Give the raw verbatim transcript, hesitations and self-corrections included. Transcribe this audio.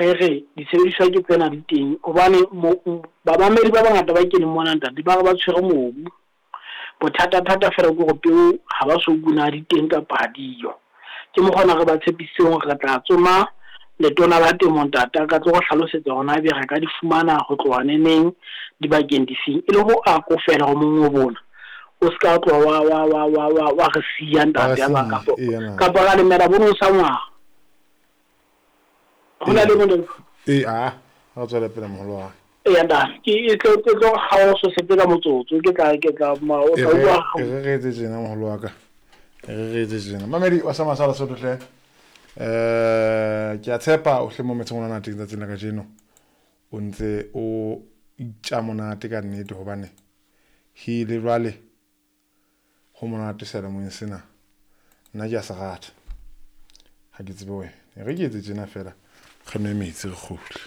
Re re disebediswa ke tsena di teng hobane bamamedi ba bangata ba keneng mona ntate ba re ba tshwere mobu. Bothata-thata fela ke hore peo ha ba so una di teng kapa ha diyo. Ke mokgwa ona re ba tshepisitseng hore re tla tsoma letona la temo ntate a ka tlo re hlalosetsa hore na ebe re ka di fumana ho tloha neneng dibakeng difeng, e le ho akofela hore mongobo ona o ska tloha wa wa wa wa wa wa re siya ntate ba kapa kapa ra lemela bono sa ngwaga. Ho na le mo e a a tswela pele moholo wa e ntate ke e tlo ke tlo kgaola so setse ka motsotso ke tla ke tla ma o tla utlwa re re etse tjena moholo wa ka re re etse tjena mamedi wa sa masala Sotho hle eh ke a tshepa o hle mo metseng ona teng tsatsing la kajeno o ntse o itja monate ka nnete hobane hile jwale ho monate seyalemoyeng sena nna ke a se rata ha ke tsebe wena e re ke etse tjena fela re nwe metsi re kgutle.